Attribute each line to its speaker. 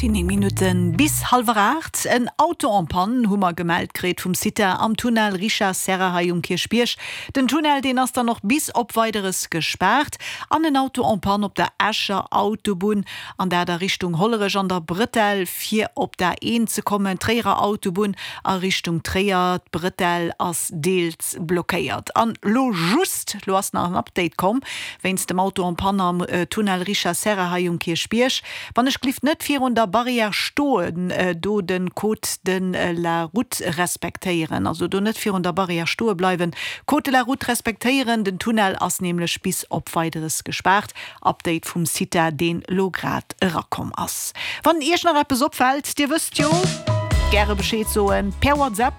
Speaker 1: Et sinn 9 Minutte bis hallwer 8. En Auto en panne hu mer gemellt kritt vum CITA am Tunnel Richard Serra hei um Kierchbierg. Den Tunnel, deen ass dann och bis op Weideres gespaart. An en Auto en panne op der Escher Autobunn, an dat a Richtung Hollerech an der Bretelle fir op d'A1 ze kommen. D'Tréierer Autobunn a Richtung Tréier, d'Bretelle ass deels blockéiert. An lo just, lo ass nach en Update komm wéinst dem Auto en panne am Tunnel Richard Serra hei um Kierchbierg. Wann ech glift net virun der Barrière stoen, do den Code de la route respektéieren, also do net virun der Barrière stoe bleiwen, Code de la route respektéieren, den Tunnel ass nämlech bis op Weideres gespaart. Update vum CITA deen lo grad erakomm ass. Wann iech nach eppes opfällt, dir wësst jo, gäre Bescheed soen per WhatsApp,